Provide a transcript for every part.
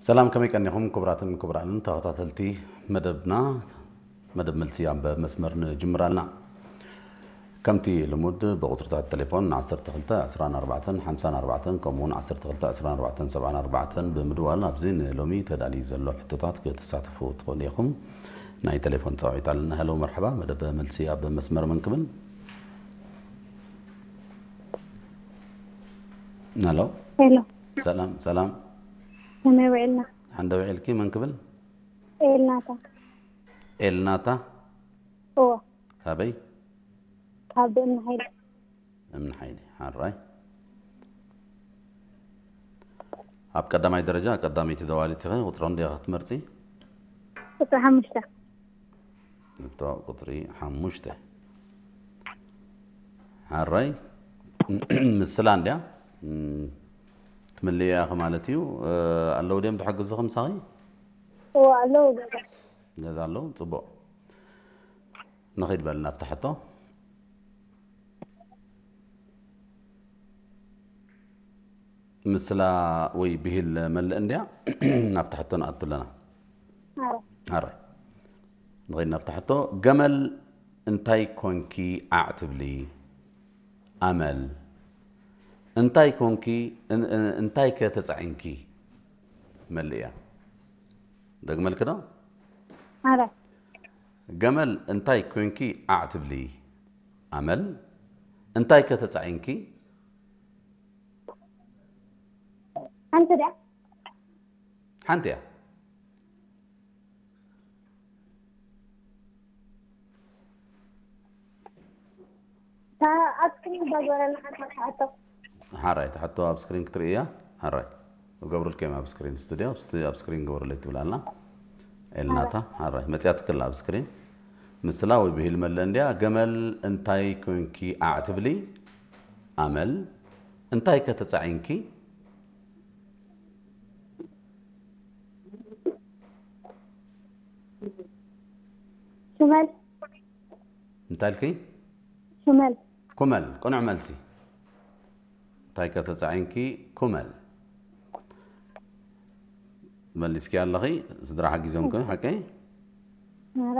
ሰላም፣ ከመይ ቀኒኹም ክቡራትን ክቡራንን ተኸታተልቲ መደብና? መደብ መልሲ ኣብ መስመር ንጅምር ኣለና። ከምቲ ልሙድ ብቁጽርታት ቴሌፎን ዓሰርተ ክልተ ዕስራን ኣርባዕተን ሓምሳን ኣርባዕተን ከምኡ እውን ዓሰርተ ክልተ ዕስራን ኣርባዕተን ሰብዓን ኣርባዕተን ብምድዋል ኣብዚ ንሎሚ ተዳልዩ ዘሎ ሕቶታት ክትሳተፉ ትኽእሉ ኢኹም። ናይ ቴሌፎን ጻውዒት ኣለና። ሄሎ፣ መርሓባ። መደብ መልሲ ኣብ መስመር መን ክብል? ሄሎ። ሄሎ፣ ሰላም ሰላም። ከመይ ውዒልና? ሓንደ ውዒልኪ? መን ክብል? ኤልናታ። ኤልናታ። እዎ፣ ካበይ? ካብ እምኒ ሓይሊ። እምኒ ሓይሊ። ሓራይ። ኣብ ቀዳማይ ደረጃ ቀዳመይቲ ደዋሊት ኢኺ። ቁፅሪ ክንደይ ኢኻ ክትመርፂ? ቁፅሪ ሓሙሽተ። እቶ ቁፅሪ ሓሙሽተ። ሓራይ። ምስላ እንድያ። እም፣ ትምልእያ ኢኺ ማለት እዩ። እ፣ ኣለዉ ድዮም ትሕግዙኺ ምሳኺ? እዎ፣ ኣለዉ ገዛ። ገዛ ኣለዉ። ፅቡቕ። ንኺድ በል ናብታ ሕቶ። ምስላ ወይ ብሂል መልእ እንድያ። ናብታ ሕቶ ንኣቱ ኣለና። ኣረ፣ ኣረ። ንኺድ ናብታ ሕቶ። ገመል እንታይ ኮንኪ ዓዕ ትብሊ? ኣመል እንታይ ኮንኪ? እን-፣ እን-፣ እንታይ ከ ተጻዒንኪ? መልእያ። ደግመልኪ ዶ? ኣረ፣ ገመል እንታይ ኮንኪ ዓዕ ትብሊ? ኣመል እንታይ ከ ተጻዒንኪ? ሓንቲ ድያ? ሓንቲ እያ። እታ ኣብ ስክሪን እዛ ዝበለና ሓንቲ ሕቶ። ሓራይ፣ ትሕቶ ኣብ ስክሪን ክትርኢ እያ። ሓራይ። እገብሩልኩም ኣብ ስክሪን ስቱድዮ፣ ስቱድዮ ኣብ ስክሪን ግበሩለይ ትብል ኣላ። ኤልናታ፣ ሓራይ። መጽያትክላ ኣብ ስክሪን። ምስላ ወይ ብሂል መልእ እንድያ። ገመል እንታይ ኮንኪ ዓዕ ትብሊ? ኣመል እንታይ ከ ተጻዒንኪ? ሽመል። እንታይ ኢልኪ? ሽመል። ኩመል፣ ቅኑዕ መልሲ። እንታይ ከ ተጻዒንኪ? ኩመል። መሊስኪ ኣለኺ፣ ስድራ ሓጊዞምኪ፣ ሓቀይ? ኣረ፣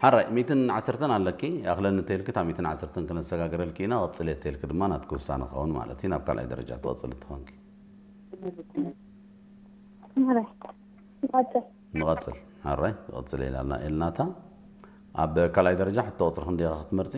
ሓራይ፣ ሚእትን ዓሰርተን ኣለኪ፣ ኣኽለኒ ተልኪ፣ እታ ሚእትን ዓሰርተን ክነሰጋግረልኪ ኢና፣ ቐጽል እየ ተልኪ ድማ ናትኪ ውሳነ ክኸውን ማለት እዩ፣ ናብ ካልኣይ ደረጃ ትቐጽል ትኾንኪ። ኣረ፣ ይቐጽል። ንቐጽል፣ ሓራይ፣ ትቐጽል ኢላና ኤልናታ። ኣብ ካልኣይ ደረጃ ሕቶ ቁጽሪ ክንደይ ኢኻ ክትመርጺ?